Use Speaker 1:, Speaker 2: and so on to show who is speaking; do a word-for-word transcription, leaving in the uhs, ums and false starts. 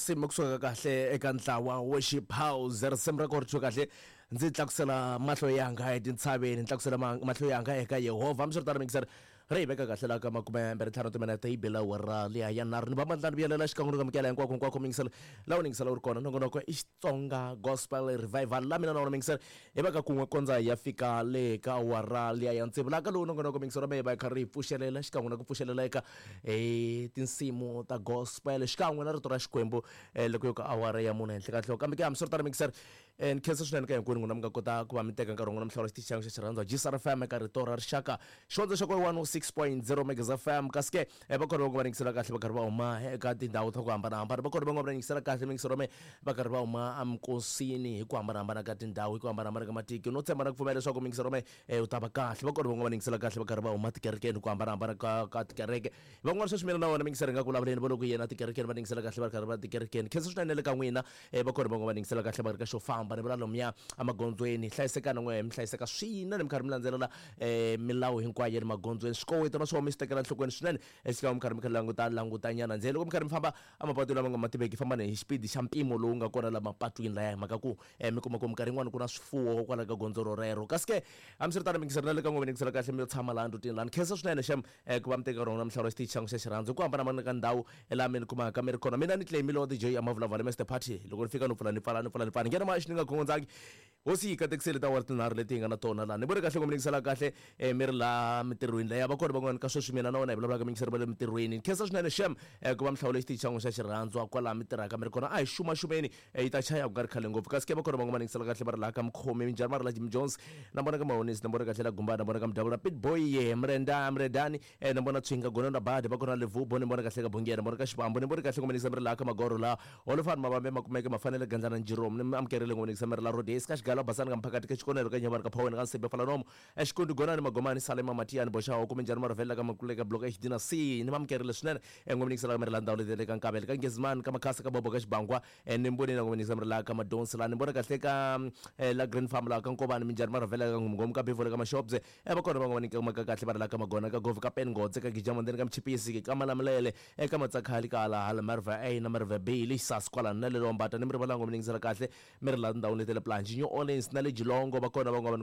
Speaker 1: Risimu kusuka kahle eka ntlawa Worship House, risimu ra kona kahle ndzi tlakusela mahlo yanga etintshaveni, tlakusela mahlo yanga eka Yehovha. Hambiswiritano mixer ri hi veka kahle la ka makume mbirhi ntlhanu timinete yi bela awara liya ya nharhu. Ni va mandlani vuyelela xikan'we ni kamukela hinkwako hinkwako mixer laha u ningisela u ri kona. Nongonoko i Xitsonga Gospel Revival la mina na wona mixer hi va ka kun'we kondza ya fika le ka awara liya ya tsevu. Laha ka lowu nongonoko mixer wa mehe va hi kha ri hi pfuxelela xikan'we na ku pfuxelela eka hi tinsimu ta gospel xikan'we na rito ra Xikwembu loko yo ka awara ya mune henhla ka nhloko. Kambe ke hambiswiritano mixer ni khensa swinene ka hinkwenu n'wina mi nga kota ku va mi teka nkarhi wa n'wina mi hlawula xitichi xa xa xirhandza G S R F M eka rito ra rixaka xivandza xa ku one oh six point zero Megas F M. Kasi ke va kona va nga va yingisela kahle va karhi va huma eka tindhawu ta ku hambanahambana, va kona va nga va yingisela kahle mixer wa mehe va karhi va huma eminkosini hi ku hambanahambana ka tindhawu, hi ku hambanahambana ka matiko. No tshemba na ku pfumela leswaku mixer wa mehe u ta va kahle. Va kona va nga va yingisela kahle va karhi va huma tikerekeni hi ku hambanahambana ka ka tikereke. Van'wana sweswi mina na wona mixer hi nga ku vulavuleni va loko yena tikerekeni va yingisela kahle va ri karhi va tikerekeni. Khensa swinene le ka n'wina va kona va nga va yingisela kahle va ri ka xo famba ni vula lomuya emagondzweni. Hlayisekani n'we mi hlayiseka swinene mi karhi mi landzelela milawu hinkwayo ya le magondzweni. Swikoweto na swona mi swi tekela enhlokweni swinene xikan'we mi karhi mi kha languta langutanyana ndzeni loko mi karhi mi famba emapatwini lama nga ma tiveki, fambani hi xipidi xa mpimo lowu nga kona la mapatwini laya, hi mhaka ku mi kuma ku minkarhi yin'wani ku na swifuwo kwala ka gondzo rorero. Kasi ke hambiswiritano mixer na le ka n'we mi yingisela kahle mi yo tshama laha ndhutini laha. Ni khensa swinene xem ku va mi teka rona mi hlawula xitichi xa n'wina xa xirhandzu hi ku hambanahambana ka ndhawu laha mi ni kumaka mi ri kona. Mina ni claim-ile wa D J Amavulavula Mister Party loko ni fika no pfula ni pfala ni pfula ni pfala ni nghena maxi ni nga khongondzangi. Hosi yi katekisile ta awara tinharhu leti hi nga na tona laha. Ni vone kahle ku mi yingisela kahle mi ri laha mintirhweni leyi. Va kona van'wana ka sweswi mina na wena hi vulavulaka mi yingisela va le mintirhweni. Ni khensa swinene xem ku va mi hlawule xitichi xa n'wina xa xirhandzu kwalaha mi tirhaka mi ri kona. A hi xumaxumeni yi ta chaya ku nga ri khale ngopfu. Kasi ke va kona van'wana va yingisela kahle va ri laha ka Mukhomi, minjhani va ri la Jim Jones, na vona ka Mahonisi, na vona kahle la Gumbana, na vona ka Mudavula, Pit Boy, Mrenda, Mredani, na vona Tshwinga, Gononi ra Badi, va kona Levubo, ni vona kahle ka Bungera, na vona ka Xivambu, ni vona kahle ku mi yingisela mi ri laha ka Magoro laha Holofani Mavambe Makumeke Mafanele Gandlana Njiromu, ni mi amukerile ku mi yingisela mi ri la Rhodes ka Xigalo Basani ka Mphakati ka Xikonelo ka Nyavani ka Phaweni ka Nsimbe Falanomo Exikundi Gonani Magomani Salema Matiyani Boxaho kumbe njhani Marivela ka Makuleka Block H D na C. Ni amukerile swinene ku mi yingisela mi ri la ndhawu leti le ka Nkavele ka Ngezimani ka Makhasa ka Bobo ka Xibangwa, ni mboni na ku mi yingisela mi ri la ka Madonsi laha. Ni vona kahle ka la Green Farm laha ka Nkovani minjhani Marivela ka Nghomnghomu ka Bivole ka Mashobye va kona van'wana va kumaka kahle va ri la ka Magona ka Govi ka Pengodze ka Gijamandeni ka Mchipisi ka Malamulele eka Matsakhali ka Halahala Marve A na Marve B le Xisasi kwalano na le Lombata. Ni mi rivalango mi yingisela kahle mi ri la ndhawini leti le Plunge New Orleans na le Jilongo va kona van'wana